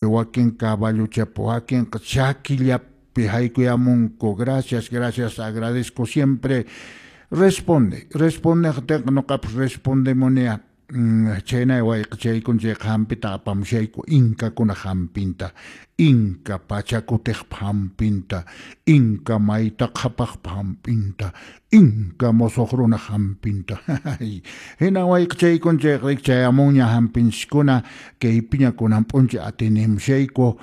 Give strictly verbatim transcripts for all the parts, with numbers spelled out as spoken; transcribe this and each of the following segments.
Wakin caballuchapi, wakinqa chakillapi haykuyamunku. Gracias, gracias, agradezco siempre. Responde, respondeqtinqa ñuqapas respondemunia. Chhaynay wayqichaykuna chayqa hampita apamushayku, inkakuna hampinta, inka pachakutiqpa hampinta, inka mayta qhapaqpa hampinta, inka musuq runaq hampinta. Hina wayqichaykuna chayqa chayamunña hampinchiskuna, kaypiña kunan p'unchay atinimushayku.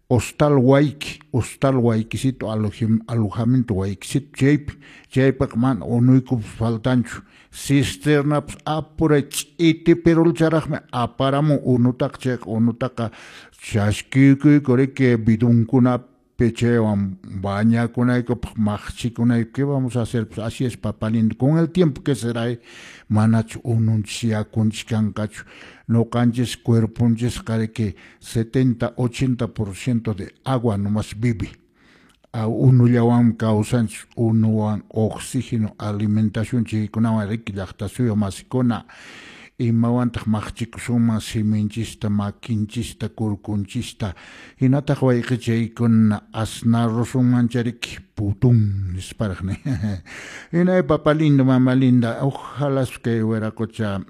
Hostal Wayki, Hostal Waykisito, alojamiento Waykisito chaypi, chaypiqa mana unuykupas faltanchu, cisternapas apuray ch'iti pirulcharaqmi aparamun unutaqa, chayqa unutaqa chaskiykuyku riki bidonkunapi chaywan bañakunaykupaq maqchikunayku. ¿Qué vamos a hacer? Pues así es, papá lindo, con el tiempo que será, manachu ununchis yakunchis kanqachu. Ñuqanchis cuerponchisqa riki setenta, ochenta por ciento de agua nomás vive. Unullawanmi kawsanchis, unuwan, oxígeno, alimentación chaykunawan riki llaqta suyu masikuna. Imawantaq maqchikusunman siminchista, makinchista, kurkunchista, hinataq wayqichaykuna asnarusunmancha riki putun nisparaq ni. Hinay papá lindo, mamá linda, ojalá kay wiraqocha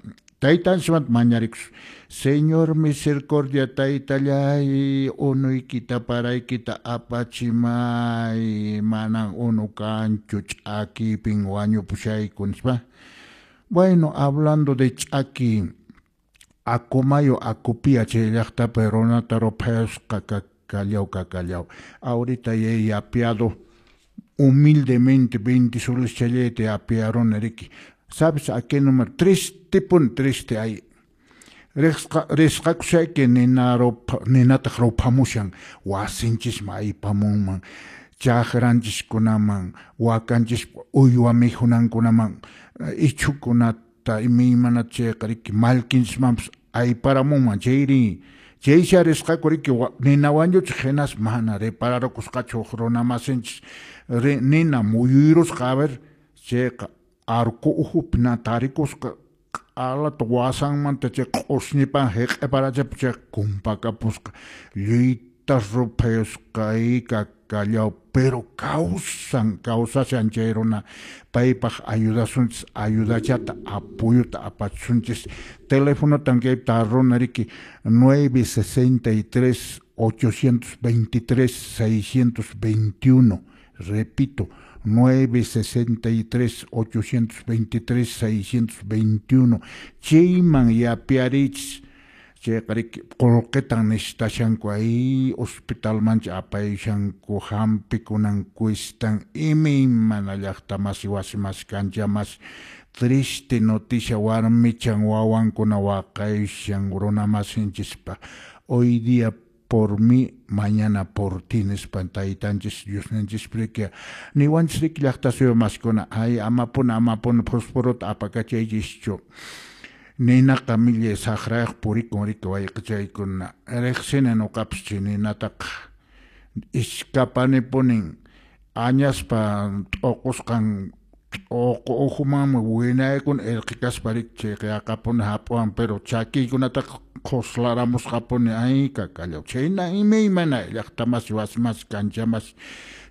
taytanchismanta mañarikus. Señor misericordia taytallay, unuykita paraykita apachimay, manan unu kanchu, ch'akipin wañupushayku nispa. Bueno, hablando de ch'aki, Acomayo, Acopía chay llaqtapi runata ruphayasqa kakallaw kakallaw. Ahorita ya he yapeado humildemente veinte soles challayta yapearuni riki. ¿Sabes a qué número? Triste pun triste hay. Risqakushayki nina rupha, ninataq ruphamushan wasinchisman aypamunman, chakranchiskunaman, wakanchis uywa mikhunankunaman, ichhukunata imaymanata chayqa riki mallkinchismanpas ayparamunman chayri. Chaysi risqaku riki nina wañuchiq hinas mana repararukusqachu huk runa masinchis nina muyuyrusqa, a ver, chayqa arco uhupi na tarikusqa q'alata wasanmanta chay q'usñipan hiq'iparachipa chay kumpakapusqa lluyta ruphayusqa kakallaw, pero kawsan, kawsashan chay runa. Paypaq ayudasunchis, ayudachata, apoyota apachisunchis. Telefonotan kaypi tarruna riki nueve sesenta y tres ochocientos veintitrés seiscientos veintiuno, repito, nueve sesenta y tres ochocientos veintitrés seiscientos veintiuno. Chayman yapiarichis, chayqa riki qullqitan necesitashanku, ay hospitalmancha apayushanku, hampikunan cuestan, imaymana llaqta masi wasi masi kancha masi. Triste noticia, warmichan wawankuna waqayushan runa masinchispa. Hoy día por mí, mañana por ti, nispa taytanchis Diosninchis riki niwanchis riki llaqta suyu masikuna, ay amapuna amapuna fosforota apakachaychischu. Ninaqa millay saqrayuq purikun riki wayqichaykuna. Riqsini ñuqapas chay ninataqa iskapanipunin añaspa t'uqusqan t'uqu uhumanmi winaykuna irqi kaspa riki chayqa yaqapuni hap'uwan, pero chakiykunataqa qhuslaramusqapuni ay kakallaw. Chhayna imaymana llaqta masi wasi masi kancha masi.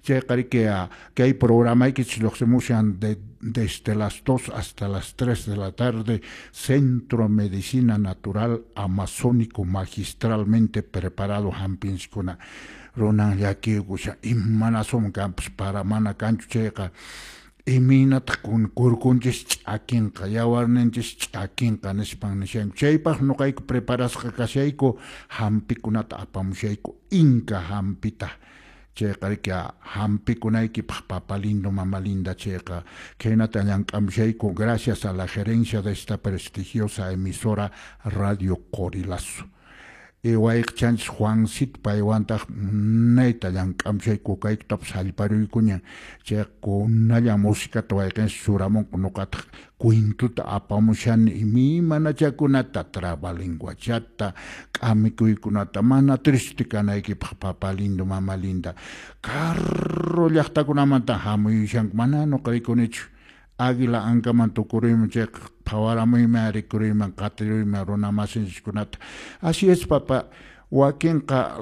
Chayqa riki kay programaykichis lluqsimushan de, desde las dos hasta las tres de la tarde, Centro Medicina Natural Amazónico magistralmente preparado hampinchiskuna. Runan llakiykushan imanasumi kanpas para mana kanchu chayqa imaynataq kurkunchis ch'akinqa, yawarninchis ch'akinqa nispan nishanku. Chaypaq ñuqayku preparasqa kashayku, hampikunata apamushayku, inka hampita. Chayqa riki hampikunaykipaq papá lindo, mamá linda, chayqa khaynata llank'amushayku gracias a la gerencia de esta prestigiosa emisora Radio Qorilazo. Wayqichanchis Juancito paywantaq munayta llank'amushayku, kaykutapas hallparuykuña, chayqa kunalla musicata wayqinchis churamunku, ñuqataq cuentuta apamushani imaymanachakunata, trabalenguachata, k'amikuykunata, mana triste kanaykipaq papá lindo, mamá linda. Carro llaqtakunamanta hamuyushanku, mana ñuqa rikunichu. Águila ankaman tukuruyman chayqa phawaramuyman, rikuruyman, qatiruyman runa masinchiskunata. Así es, papá. Wakinqa